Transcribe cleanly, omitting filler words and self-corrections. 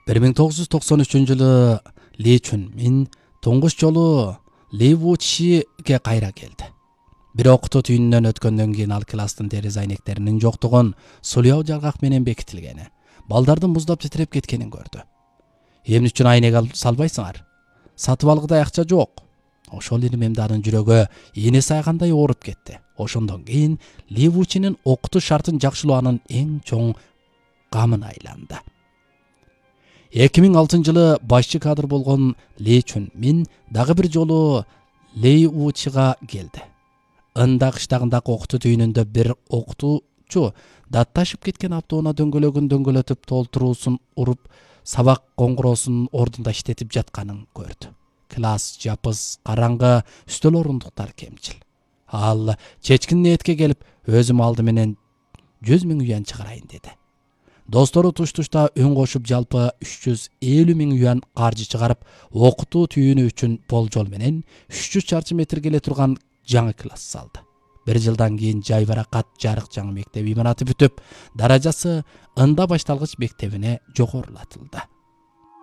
1993-жылы Ли Чун-мин туңгуч жолу Ливучиге кайра келди. Бир окутуу түйүнүнөн өткөндөн кийин ал класстын терезе айнектеринин жоктугун, сулуу жаргак менен бекитилгени, балдардын муздап титиреп кеткенин көрдү. Эмне үчүн айнек салбайсыңар? Сатып алгыдай акча жок. Ошол эле мемде анын жүрөгү ийне сайгандай ооруп кетти. Ошондон кийин Ливучинин окутуш шартын жакшылоо анын эң чоң камына айланды. 2006-жылы башчы кадр болгон Ли Чун-мин дагы бир жолу Ливучига келди. Ында кыштагындагы окутуу түйүнүндө бир окутуучу датташып кеткен автоунаа дөңгөлөгүн дөңгөлөтүп толтуруусун уруп, сабак коңгуроосунун ордунда иштетип жатканын көрдү. Класс жапыз, караңгы, үстөл орундуктар кемчил. Ал чечкин ниетке келип, өзүм алды менен 100 000 юан чыгарайын деди. Достору туш-тушта үн кошуп, жалпы 350 000 юан каржы чыгарып, окутуу түйүнү үчүн болжол менен 300 чарчы метрге эле турган жаңы класс салды. Бир жылдан кийин жайбаракат жарык жаңы мектеп имараты бүтүп, даражасы ында башталгыч мектебине жогорулатылды.